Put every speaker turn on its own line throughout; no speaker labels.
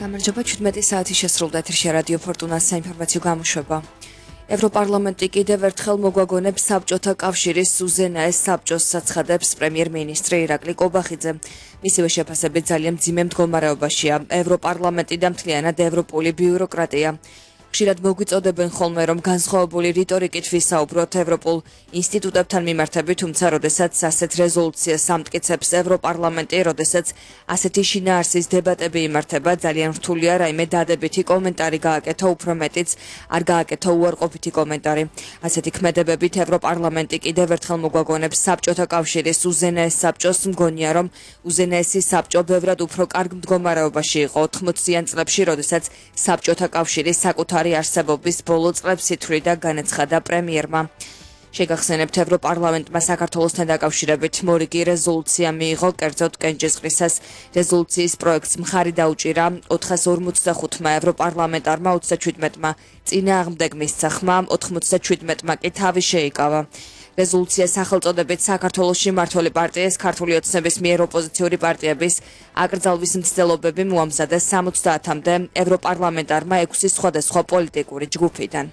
გამარჯობა 17 საათი შესრულდა ეთერში რადიო ფორტუნას საინფორმაციო გამოშვება. ევროპარლამენტი კიდევ ერთხელ მოგვაგონებს საბჭოთა კავშირის უზენაეს საბჭოს საცხადებს პრემიერ-მინისტრი ირაკლი კობახიძე. მისივე შეფასებით ძალიან მძიმე მდგომარეობაშია ევროპარლამენტი და მთლიანად ევროპული ბიუროკრატია. ხშირად მოგვიწოდებენ ხოლმე, რომ განსხვავებული რიტორიკით ვისაუბროთ ევროპულ ინსტიტუტებთან მიმართებით, თუმცა როდესაც ასეთ რეზოლუციას ამტკიცებს ევროპარლამენტი, როდესაც ასეთი შინაარსის დებატები იმართება, ძალიან რთულია რაიმე დადებითი კომენტარი გააკეთო, უფრო მეტიც არ გააკეთო უარყოფითი კომენტარი. ასეთი ქმედებებით ევროპარლამენტი კიდევ ერთხელ მოგვაგონებს საბჭოთა კავშირის უზენაეს საბჭოს. მგონია, რომ უზენაესი საბჭო ბევრად უფრო კარგ მდგომარეობაში იყო 80-იან წლებში, როდესაც საბჭოთა კავშირი საკუთარი არსებობის ბოლო წლებს ითვლიდა განაცხადა პრემიერმა. შეგახსენებთ, ევროპარლამენტმა საქართველოსთან დაკავშირებით მორიგი რეზოლუცია მიიღო, კერძოდ კენჭისყრისას რეზოლუციის პროექტს მხარი დაუჭირა 455-მა ევროპარლამენტარმა, 37-მა წინააღმდეგ მისცა ხმა, 97-მა კი თავი შეიკავა. რეზოლუციას სახელწოდებით საქართველოში მმართველი პარტიის ქართული ოცნების მიერ ოპოზიციური პარტიების აკრძალვის მცდელობები მოამზადეს 70-მდე ევროპარლამენტარმა 6 სხვადასხვა პოლიტიკური ჯგუფიდან.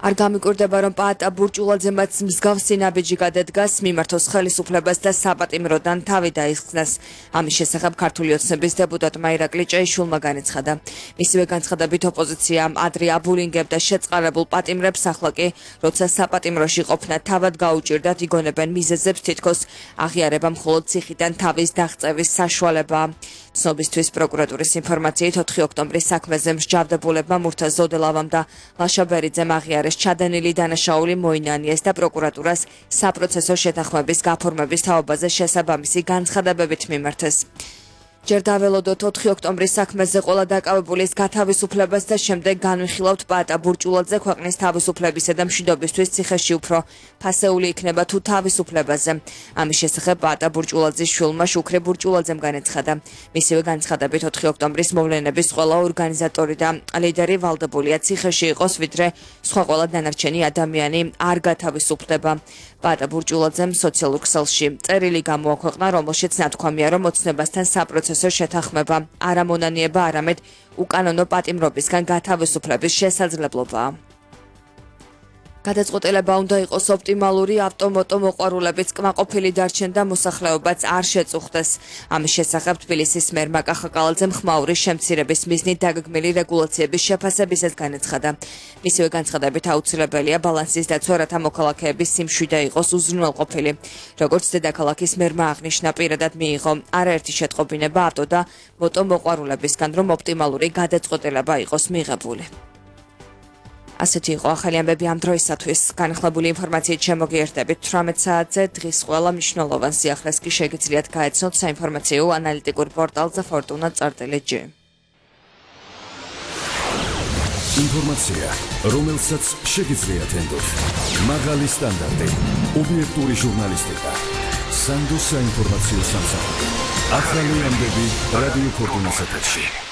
არ გამიკვირდება, რომ პაატა ბურჭულაძემაც მსგავსი ნაბიჯი გადადგას, მიმართოს ხელისუფლებას და საპატიმროდან თავი დაიხსნას. ამის შესახებ ქართული ოცნების დეპუტატმა ირაკლი ჭეიშვილმა განაცხადა. მისივე განცხადებით ოპოზიცია ადრე აბულინგებდა შეწყარებულ პატიმრებს, ახლა კი, როცა საპატიმროში ყოფნა თავად გაუჭირდათ, იგონებენ მიზეზებს, თითქოს აღიარება მხოლოდ ციხიდან თავის დაღწევის საშუალებაა. ცნობისთვის პროკურატურის ინფორმაციით 4 ოქტომბრის საქმეზე მსჯავრდებულებმა მურთა ზოდელავამ და ლაშა ბერიძემ აღიარეს ჩადენილი დანაშაული მოინანიეს და პროკურატურას საპროცესო შეთანხმების გაფორმების თაობაზე შესაბამისი განცხადებებით მიმართეს. ჯერ დაველოდოთ 4 ოქტომბრის საქმეზე ყველა დაკავებულის გათავისუფლებას და შემდეგ განვიხილავთ პაატა ბურჭულაძე ქვეყნის თავისუფლებისა და მშვიდობისთვის ციხეში უფრო ფასეული იქნება თუ თავისუფლებაზე. ამის შესახებ პაატა ბურჭულაძის შვილმა შუქრე ბურჭულაძემ განაცხადა. მისივე განცხადებით 4 ოქტომბრის მოვლენების ყველა ორგანიზატორი და ლიდერი ვალდებულია ციხეში იყოს, ვიდრე სხვა ყველა დანარჩენი ადამიანი არ გათავისუფლდება. პაატა ბურჭულაძემ სოციალურ ქსელში წერილი გამოაქვეყნა, რომელშიც ნათქვამია, რომ ოცნებასთან საპროცესო შეთანხმება არ ამონანიება, არამედ უკანონო პატიმრობისგან გათავისუფლების შესაძლებლობაა. გადაწყვეტილება უნდა იყოს ოპტიმალური, ავტომოტო მოყვარულებიც კმაყოფილი დარჩენ და მოსახლეობაც არ შეწუხდეს. ამის შესახებ თბილისის მერმა კახაკალაძემ ხმაური შემცირების მიზნით დაგეგმილი რეგულაციების შეფასებისას განაცხადა. მისივე განცხადებით აუცილებელია ბალანსის დაცვა, რათა მოქალაქეების სიმშვიდე იყოს უზრუნველყოფილი. როგორც დედაქალაქის მერმა აღნიშნა, პირადად მიიღო არაერთი შეტყობინება ავტო და მოტო მოყვარულებისგან, რომ ოპტიმალური გადაწყვეტილება იყოს მიღებული. ასეთი იყო ახალი ამბები ამ დროისათვის. განხილებული ინფორმაციით შემოგიერთდებით 18 საათზე. დღის ყველა მნიშვნელოვან სიახლეს კი შეგიძლიათ გაეცნოთ საინფორმაციო ანალიტიკურ პორტალზე fortuna.gr.
ინფორმაცია, რომელსაც შეგიძლიათ ენდოთ. მაღალი სტანდარტი, ობიექტური ჟურნალისტიკა. სანდო საინფორმაციო სამსახური. ახალი ამბები რადიო ფორტუნას ეთერში.